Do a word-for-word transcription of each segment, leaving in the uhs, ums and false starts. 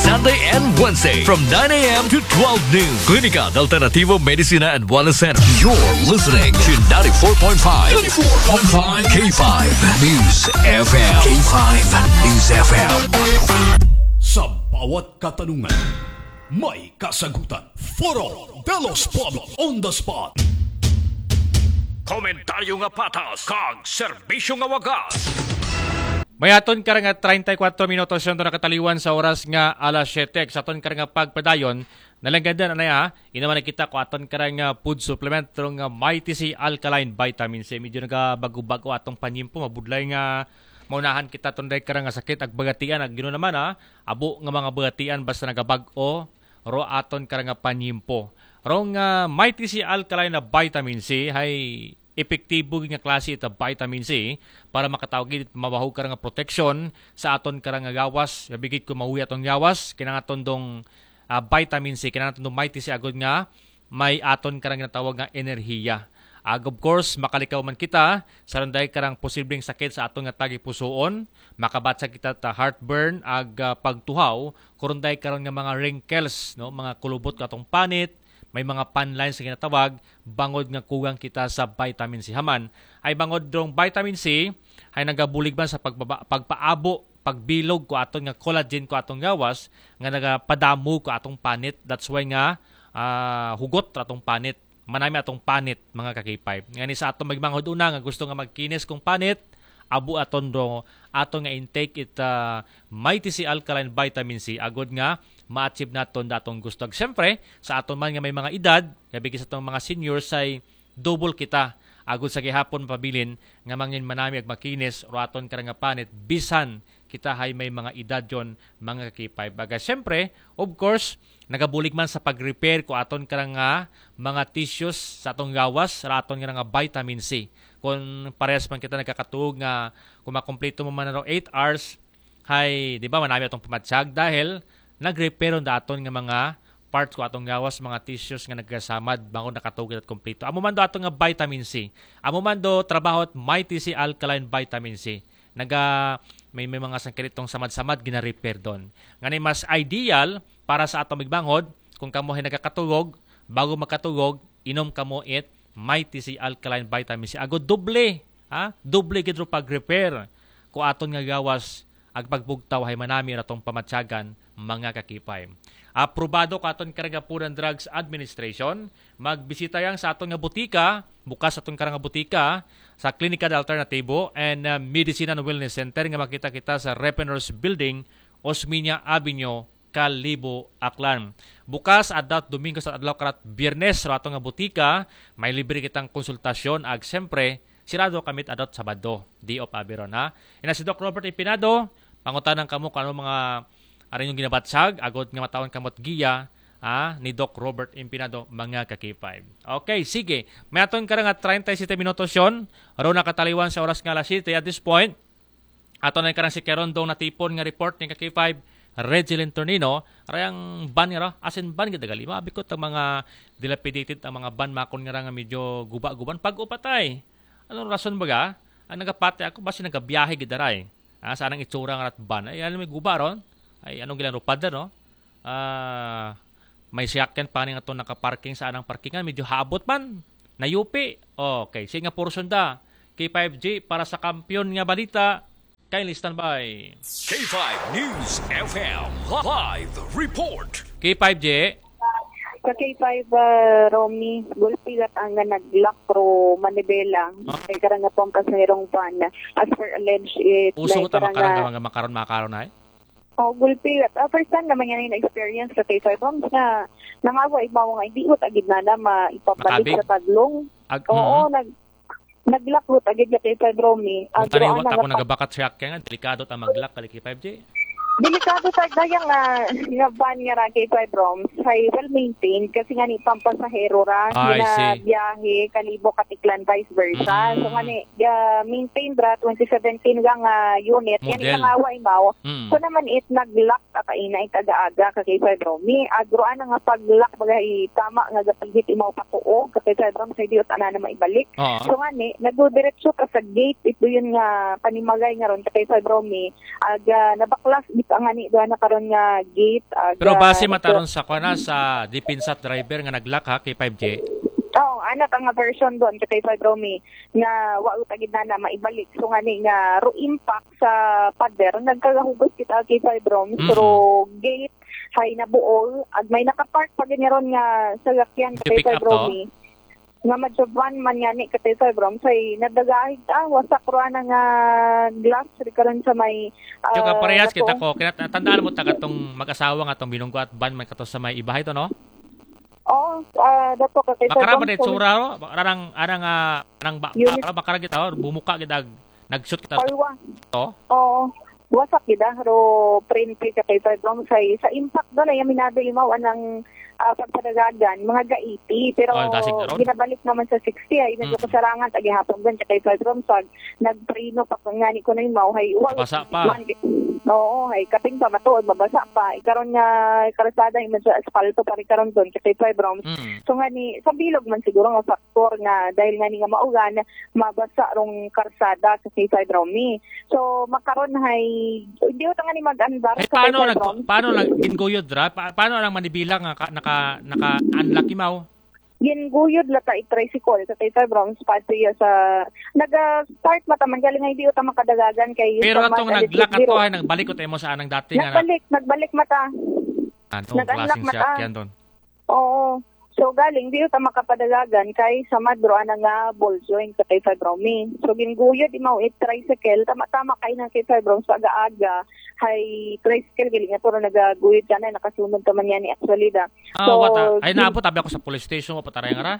Monday and Wednesday from nine a.m. to twelve noon. Klinika de Alternativo Medicina and Wellness Center. You're listening to ninety-four point five, ninety-four point five K five News F M. K five News F M. Sa bawat katanungan, may kasagutan. Foro de los Pueblos on the spot. Komentaryo nga patas kag serbisyo nga wagas. May aton karong treinta y cuatro minutos nga nakataliwan sa oras nga alas siyete. Sa aton karong pagpadayon, nalanggad na na, inuman na kita ko aton karong food supplement, karong Mighty C Alkaline Vitamin C. Medyo nagabago-bago atong panyimpo, mabudlay nga maunahan kita tunday karong sakit ag bagatian, ag gino naman, ha. Abo nga mga bagatian basta nagabag-o, ro aton karong panyimpo. Rong ah, Mighty C Alkaline na Vitamin C, hay epektibo nga klase ita vitamin C para makatawag it mabahog karong proteksyon sa aton karong gawas. Bigit ko mahuya atong gawas, kinangaton dong ah, vitamin C, kinangaton dong Mighty C agod nga may aton karong ginatawag nga enerhiya. Ag of course, makalikaw man kita sa runday karong posibleng sakit sa aton nga tagipusoon, makabatyag kita ta heartburn ag ah, pagtuhaw, kurunday karon nga mga wrinkles, no, mga kulubot ko atong panit, may mga pan lines nga ginatawag, bangod nga kugang kita sa vitamin C. Haman, ay bangod dong vitamin C, ay nagabulig man sa pagbaba, pagpaabo, pagbilog ko aton nga collagen ko atong gawas, nga nagapadamo ko atong panit. That's why nga ah, hugot ra atong panit. Manami atong panit, mga ka-K five. Ngani sa atong magmanghod una nga gusto nga magkinis kong panit, abo aton do, aton nga intake it ah, Mighty C Alkaline Vitamin C, agod nga ma-achieve naton datong gusto. Ag siyempre, sa aton man nga may mga edad, gabi sa atong mga seniors ay double kita. Agod sa gihapon mapabilin nga mangin manami ag makinis, ro aton karong panit, bisan kita hay may mga edad yon, mga ka-K five. Baga, siyempre, of course, nagabulig man sa pag-repair ko aton karong mga tissues sa atong gawas, ra aton karong vitamin C. Kung parehas man kita nagkakatuog nga, kung makumpleto mo man ro eight hours, hay, di ba, manami atong pamatyag dahil nag-repair da aton nga mga parts ko atong gawas, mga tissues nga nagkasamad, bangod nakatuog at kompleto. Amo man do aton nga vitamin C. Amo man do trabaho at Mighty C Alkaline Vitamin C. Naga, may, may mga sangkiritong samad-samad, gina-repair don. Ngani mas ideal para sa atong migmanghod, kung kamo hay nagakatugog, bago makatugog, inom kamo it Mighty C Alkaline Vitamin C. Ago doble, ha? Doble gid ro pag-repair ko aton nga gawas, ag pagbugtaw hay manami ra tong pamatyagan, mga ka-K five. Aprobado ko aton karong Food and Drugs Administration. Magbisita yang sa aton nga butika, bukas aton karong butika, sa Klinika de Alternativo and uh, Medicine and Wellness Center nga makita kita sa Repeners Building, Osmeña Avenue, Kalibo, Aklan. Bukas adlaw Domingo sa adlaw karat Biyernes, sa aton nga butika, may libre kitang konsultasyon, ag siyempre, sirado kami adlaw Sabado, day off abi ron, ha. Ina si Doc Robert Impinado, pangutanan kamo kung ano mga arin yung ginabatsag, agod nga matawan kamot giya, ha, ni Doc Robert Impinado, mga ka-K five. Okay, sige. May aton karong treinta y siete minutos yon. Ro nakataliwan sa oras nga alas siyete at this point. Ato na yung karang si Kerondong natipon nga report ni ka-K five, Regilin Tornino. Rayang ban nga ra, asin ban gid dagali. Mabikot ang mga dilapidated, ang mga ban makon nga ra nga medyo guba-guban. Pag-upatay. Anong rason baga? Ang nagapati ako, basi nagabiyahe gid daray. Ah, sa anang itsura nga rat ban. Ay, ano may guba ron? Ay, anong gilan ro, pader, no? Ah, may siyakyan pa rin ato nakaparking sa anang parkingan. Medyo habot man. Nayupi. Okay, sige nga portion da. K five G para sa kampiyon nga balita. Kindly stand by. K five News F M live report. K five G. Sa K five, ah, Romy, gulpi gat ang nga nag-lock ro manibela. Ah. Kay karang nga pong kasirong van, as per alleged, it Uso like ko ta karang makarang nga nga mga makaron, makaron ay? Oh, gulpi gat. Ah, first time naman yan yung experience sa K five Roms nga nangawa ibaw nga hindi ko tagid na na maipabalik Makabig? Sa tadlong. Ag-, Oo, mm. nag-, nag-lock ro tagid nga K five Romy. Ang Tariwa turoan ta na ako nga nagabakat siya kaya nga, delikado ta mag-lock kali K five G. Delikado ta gaya nga, nga van nga ra K five Roms, ay well maintained kasi nga ni pampasahero ra, Ah, I see. Ginabiyahe, Kalibo, Katiklan, vice versa. Mm. So nga ni, ah, maintained ra, twenty seventeen nga, nga unit, yan Model. Ilang away mao. Mm. So naman it nag-lock ka kaina it aga-aga ka K five Romy. Ag ruan na nga pag-lock bagay tama nga gapigit imaw patuo ka K five Romy, sa di ut ana na maibalik. Oo. So nga ni, nagdiretso ka sa gate, ito yun nga panimagay nga ron ka K five Romy. Ag, ah, nabaklas, di Ang ani doon na karon nga gate, ah, Pero ga- base mataron sa kuan, sa depensa sa driver nga nag-lock, ha, K five J. Oo, anak ang version doon kay K five Romy nga wa uta gid na maibalik. So ngani nga ro impact sa pader, nagkagahugos kita kay K five Romy. Mm. Pero gate hay nabuol, ag may nakapark pa gid ron nga sasakyan kay Pick up K five Romy. Nga medyo van man nga ni kay K five Romy, say nadagahig ta, wasak ro ana nga glass ri karon sa may Yung ah, kaparehas kita nato. ko, kinatandaan mo ta katong mag-asawa nga tong binunggo at van man kato sa may ibahay to, no? Oo, ah, dato ka kay Makara ba Sir din Bong, tsura, no? Arang, arang, ah, arang ba, Unit. para makara kita, oh, bumuka kita, nag-shoot kita Kalwa. to. Oo. Wasak gid ah, ro print kay Sir Bong, say sa impact doon ay aminado imaw anang ah, pagpadagagan, mga ga eighty, pero Oh, dasig na ron. ginabalik naman sa sixty ay medyo Mm. kasarangan ta gihapon doon kay Sir Bong, so nagpreno pa ko ngani ko na imaw hay wa Basa pa. Oo, hay kapin pa matuod, mabasa pa. Ikaron nga karsada yung medyo asfalto pa rin karon doon kay Sir Bong. Mm. So ngani sa bilog man siguro nga factor nga dahil ngani nga maulan, mabasa rong karsada sa K five Romy. So makaron hay hindi ko ngani mag-andar Eh, sa paano K five nag Romy. paano nag ginguyod ra? Pa, paano lang manibila nga ka, naka naka-unlock imaw? Ginguyod la ta i-tricycle sa K five Romy sa Patria sa naga-start mataman galing nga hindi ko ta makadagagan kay Pero sa atong Mad- nag-lock Biro. Ato ay nagbalik ko mo sa anang dati nga na. Nagbalik, nagbalik mata. Anong nag-unlock klaseng mata. sasakyan doon? Oo. So galing di ta makapadagagan kay sa Madro ana nga ball joint sa kay Fibromi. So ginguyod imaw it tricycle, tama-tama kay nang kay Fibrom sa aga-aga, hay tricycle galing nga puro nagaguyod ka na, nakasunod ka man yan ni actually da. Ah, So, wata. Ay, gin- naabot abi ako sa police station, wa pa taray nga ra.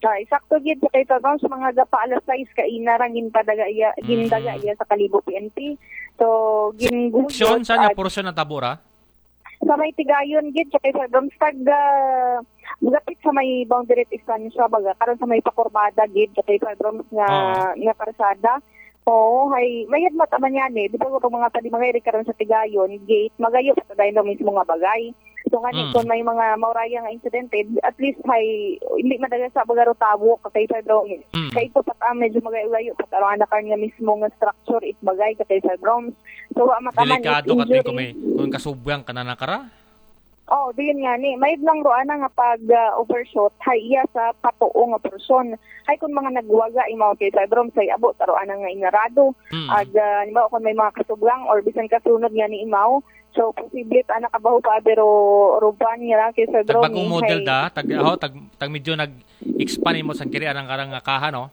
Ay, sakto gid sa kay Fibrom sa mga gapa alas sais ka ina ra ginpadaga iya, Mm. gindaga iya sa Kalibo P N P. So ginguyod. Station, saan nga At portion na tabura? Sa may Tigayon gid sa kay Fibroms tag ah, gapit sa may boundary distansya baga karon sa may pakurbada gid sa kay Fibroms nga Oo. nga karsada. Oo, hay mayad mata man yan eh. Di ba kung mga pwede mga iri karon sa Tigayon gate, magayo pa tayo mismo nga bagay. So ngani Mm. kung may mga mauraya nga insidente, at least hay hindi madaga sa baga ro tawo ka kay Fibroms. Mm. Kay ito pa ta medyo magayo-gayo pa ta ro ana karon nga mismo nga structure it bagay ka kay Fibroms. So wa mata man it Delikado ka injury. Kung may kung kasubwang ka na nakara. Oh, diyon nga ni. May lang ro ana nga pag ah, overshoot hay iya sa patuo nga porsyon. Hay kung mga nagwaga imaw kay Fibroms say abot aro ana nga inarado. Mm. Ag ah, halimbawa kung may mga kasubwang or bisan kasunod nga ni imaw. So posible ta nakabaho pa pero ruban nga lang kay Fibroms. Tagbagong model da, tag oh, tag, tag medyo nag-expand mo sa kiri anang karang nga kaha, no?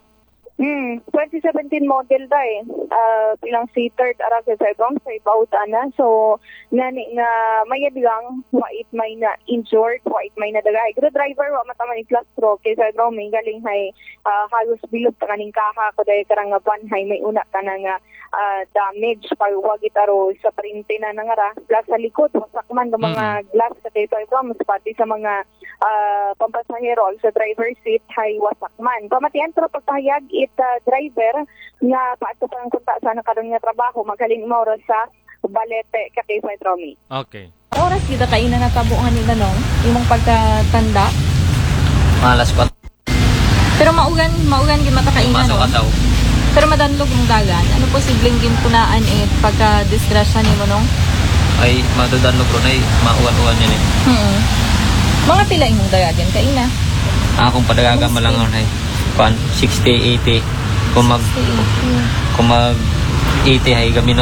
Hmm, twenty seventeen model da eh. Ah, pilang seater ara sa Fibroms sa ibaw ta na. So ngani nga mayad lang, wa it may na injured, wa it may nadagahay. Pero driver wa mataman i-class stroke kay Fibroms galing hay ah, halos bilog ta kaning kaha ko dahil karang nga van hay may una ka na nga ah, damage pag wagit aro sa parinte na nangara. Plus sa likod, wasak man ng mga Mm. glass sa kay Fibroms, pati sa mga ah, pampasahero ag sa driver seat hay wasak man. Pamatian pero pagpahayag it ah, driver nga paadto pa ang kunta sa nakaroon nga trabaho, maghalin mo oras sa Balete ka kay Fibromi. Okay. Oras gid kaina natabo nga nila, no? Imong pagkatanda. Mga alas kwatro. Pero maugan, maugan gid mata kaina, Pumasok no? Ataw. Pero madanlog mong dagan. Ano posibleng ginpunaan eh pagka-disgrasya nimo, no? Ay, madudan mo bro, ay mauwan-uwan yan eh. Hmm. Mga pila imong dagagan kaina? Akong padagagan malangaw na eh. Kuan, sixty, eighty. Kung mag, kung mag eighty ay gabi na